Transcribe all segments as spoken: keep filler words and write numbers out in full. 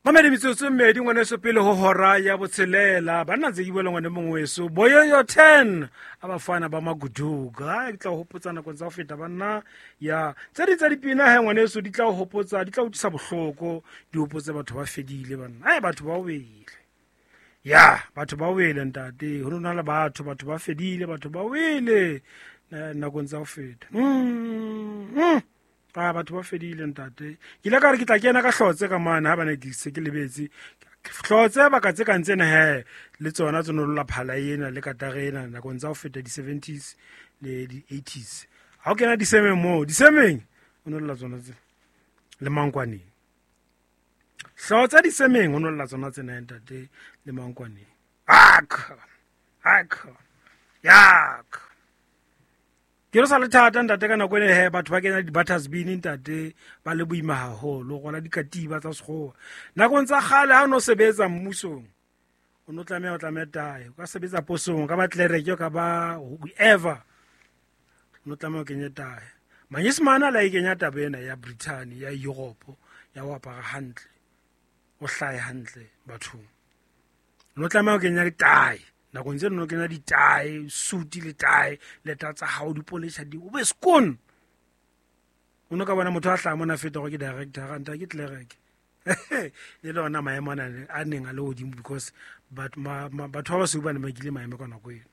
Mamedi metsotso e mmedi ngwaneso pele ho hora ya botshelela. Banna ntse ke bua le ngwane mongwe weso. Boyoyo ten a bafana ba Maguduga. Ke tla o hopotsa nakong tsa ho feta banna ya tse ding tsa dipina he ngwaneso di tla o hopotsa, di tla o utlwisa bohloko, di hopotse batho ba fedile banna. Ai batho ba wele. Ya, batho ba wele ntate. Ho nona le batho, batho ba fedile, batho ba wele nakong tsa ho feta. Mm. Mm. Ah, batho ba fedile ntate. Ke ile ka re ke tla kena ka hlotse ka mane ha bana ke se ke lebetse. Hlotse baka tse kang tsena he le tsona tse nolola phala ena le katare ena nakong tsa ho feta di seventies le di eighties. Ha o kena disemeng moo, disemeng o nolola tsona tse le mankwaneng. Hlotse disemeng o nolola tsona tsena ntate le mankwaneng. Ak! Ak! Yak! Ke re sa le thata ntate ka nako ene he batho ba kena di-butters bin ntate ba le boima haholo go la dikatiba tsa sekgowa. Nakong tsa kgale ha o no sebetsa mmusong o no tlameha o tlameha tae, o ka sebetsa posong, o ka ba tlelereke, o ka ba whoever, o no tlameha o kenye tae. Manyesemane a la e kenya taba ena ya Britain ya Europe ya ho apara hantle, o hlahe hantle bathong. O no tlameha o kenya tae. Nakong tseno no kenya ditae, suit le tae, leta tsa hao di polisha di o be skoon. O no ka bona motho a hlaha mona feta hore ke director, nta ke clerk. Le lona maemo ana a neng a le hodimo because batho batho ba basweu ba ne ba nkile maemo ka nako eno.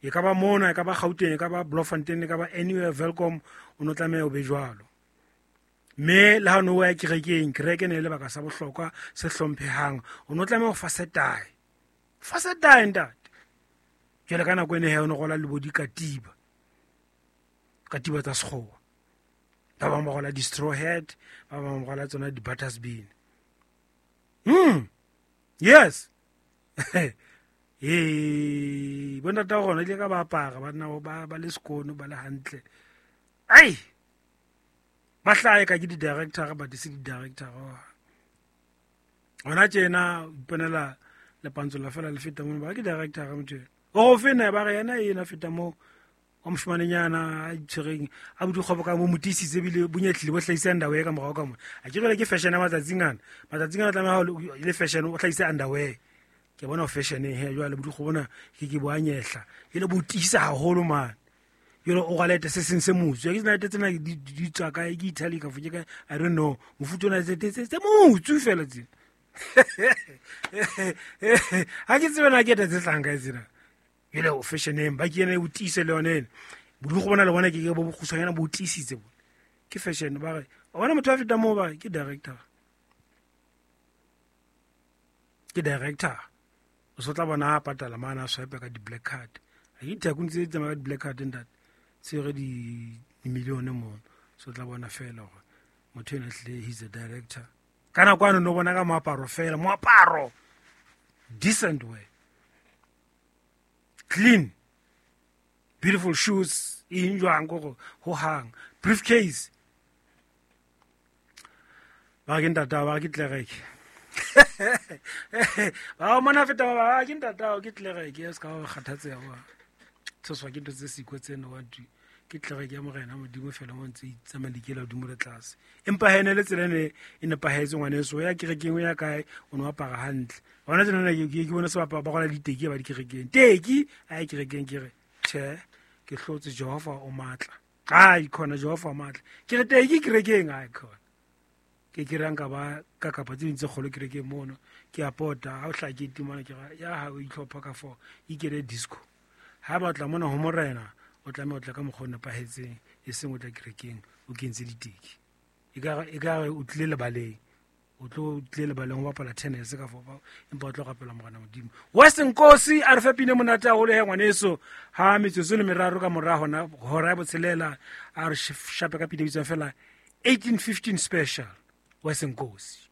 E ka ba mona, e ka ba Gauteng, e ka ba Bloemfontein, e ka ba anywhere Welkom, o no tlameha o be jwalo. Mme le ha o no ya kerekeng, kereke ne e le lebaka sa bohlokwa se hlomphehang, o no tlameha ho fasa tae. Fasa tae ntate. Jwale ka nako ene he o no rola le bo dikatiba. Katiba tsa sekgowa. Ba bang ba rola di-straw hat, ba bang ba rola tsona di-butters bin. Hmm. Yes. Eh, bo ntate wa rona ile ka ba apara, ba nna ba ba le sekono, ba le hantle. Ai! Ba hlahe ka ke di-director, ba di se di-director. Hona tjena o iponela lepantsola fela le feta mono, ba ke director motho ena. O fena ba re yena ena feta mo wa moshimanenyana a itshwereng a bodikgobo ka mo motisitse ebile bonyetlile bo hlahise underwear ka morao ka mona. A ke jwale ke fashion ya matsatsing ana. Matsatsing ana tlameha ho le fashion o hlahise underwear. Ke bona fashion he jwale bodikgobo bona ke ke bo a nyehla. Jwale bo tiisa haholo mane. Jwale o rwala se seng se motsu. Ke tsena tsena di di tswa kae, ke Italy ka ke kae, I don't know. Mofuta ona tse tse tse motsu fela tsena. Ha ke tsebe na ke tse tlang kae tsena. Jwale o fashioneng ba ke ena o tiise le yona ena. Bodikgo bona le bona ke ke bo bokgutshwanyana bo tiisitse bona. Ke fashion ba re o bona motho a feta moo ba ke director. Ke director. O so tla bona a patala mana a swipe ka di-black card. Ha ke dithakong tse tsamaya ka di-black card ntate. Tshwere di million mono. So tla bona fela hore motho ena hlile he's a director. Ka nako ano no bona ka moaparo fela, moaparo. Decent way. Clean. Beautiful shoes, eng jwang go ho hang. Briefcase. Ba ke ntata ba ke tlereke. Ba mona feta ba ke ntata ke tlereke se ka ba kgathatseha wa. Tshoswa ke ntho tse siko tseno wa tu. Ke tlereke ya morena Modimo fela mo ntse itsamalekela hodimo le tlase. Empa he ne le tsela ne e nepahetse ngwaneso ya kerekeng ya kae o no apara hantle. Hona tsena ke ke bona se ba ba rola diteki ba dikerekeng. Teki a kerekeng ke re tjhe ke hlotse Jehova o matla. Ai khona Jehova o matla. Ke re teki kerekeng ai khona. Ke ke rang ka ba ka kapa tse ding tse kgolo kerekeng mono ke a pota ha o hla ke timana ke ra ya ha o itlhopha ka fo ikele disco. Ha ba tla mona ho morena o tlameha o tla ka mokgwa o nepahetseng e seng o tla kerekeng o kentse diteki. E ka e ka o tlile lebaleng. O tlo tlile lebaleng ho bapala tennis ka fo empa o tlo rapela morena Modimo. Western Nkosi a re fe pine monate haholo he ngwaneso ha metsotso le meraro ka mora hona hora ya botshelela a re shape ka pine bitswang fela eighteen fifteen special. Western Nkosi.